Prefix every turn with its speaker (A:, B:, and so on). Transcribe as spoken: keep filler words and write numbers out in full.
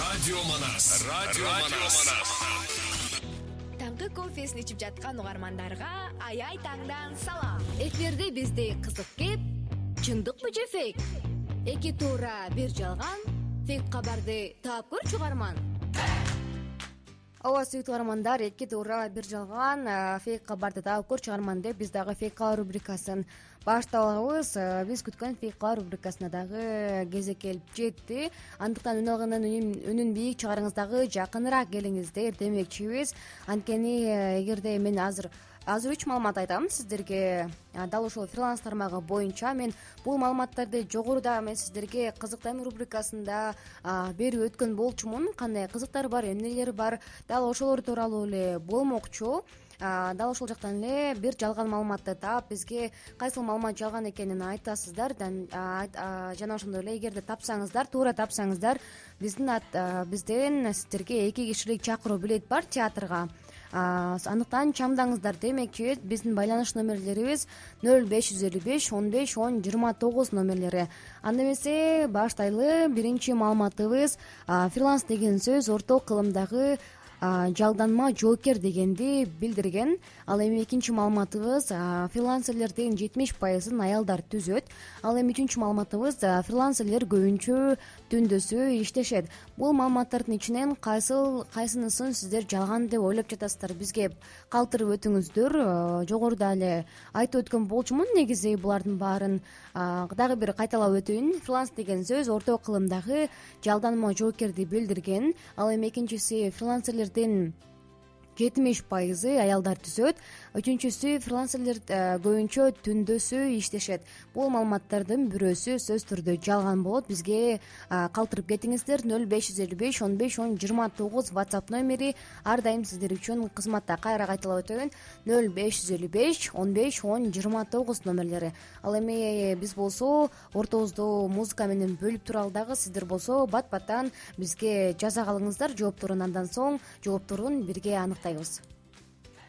A: Радио Манас. Радио Манас.
B: Таңкы кофесин ичип жаткан угармандарга аяй таңдан салам. Эфирде бизде кызык кеп, чындыкпы же фейк? Эки туура бир жалган, фейк кабарды таап көрчү угарман.
C: Ооба, сүйүктүү угармандар, эки туура бир жалган, фейк кабарды таап көрчү угарман деп биз дагы фейк кабар рубрикасын баштап алабыз. Биз күткөн фейк кабар рубрикасына дагы кезек келип жетти. Андыктан үн алгандын үнүн бийик чыгарыңыз, дагы жакыныраак келиңиздер демекчибиз. Анткени эгерде мен азыр азыр үч маалымат айтам сиздерге, дал ошол фриланс тармагы боюнча. Мен бул маалыматтарды жогоруда мен сиздерге кызык тайм рубрикасында берип өткөн болчумун. Кандай кызыктар бар, эмнелер бар, дал ошолор тууралуу эле болмокчу. Дал ошол жактан эле бир жалган маалыматты таап, бизге кайсыл маалымат жалган экенин айтасыздар. Жана ошондой эле эгерде тапсаңыздар, туура тапсаңыздар, биздин бизден сиздерге эки кишилик чакыруу билет бар театрга. Андыктан чамдаңыздар демекчи. Биздин байланыш номерлерибиз нөл беш жүз элүү беш он беш он жыйырма тогуз номерлери. Анда эмесе баштайлы. Биринчи маалыматыбыз фриланс деген сөз орток кылымдагы жалданма жоокер дегенди билдирген. Ал эми экинчи маалыматыбыз фрилансерлердин жетимиш пайызын аялдар түзөт. Ал эми үчүнчү маалыматыбыз фрилансерлер көбүнчө түндөсү иштешет. Бул маалыматтардын ичинен кайсыл кайсынысын сиздер жалган деп ойлоп жатасыздар? Бизге калтырып өтүңүздөр. Жогоруда эле айтып өткөн болчумун. Негизи булардын баарын дагы бир кайталап өтөйүн. Фриланс деген сөз орток кылымдагы жалданма жоокерди билдирген. Ал эми экинчиси фрилансерлер жетимиш пайызы аялдар түзөт. Үчүнчүсү фрилансерлер көбүнчө түндөсү иштешет. Бул маалыматтардын бирөөсү сөзсүз түрдө жалган болот. Бизге калтырып кетиңиздер. нөл беш жүз элүү беш он беш он жыйырма тогуз WhatsApp номери ар дайым сиздер үчүн кызматта. Кайра кайталап өтөйүн. нөл беш жүз элүү беш он беш он жыйырма тогуз номерлери. Ал эми биз болсо ортобузду музыка менен бөлүп туралы дагы. Сиздер болсо бат баттан бизге жаза калыңыздар. Жоопторун андан соң жоопторун бирге аныктайбыз.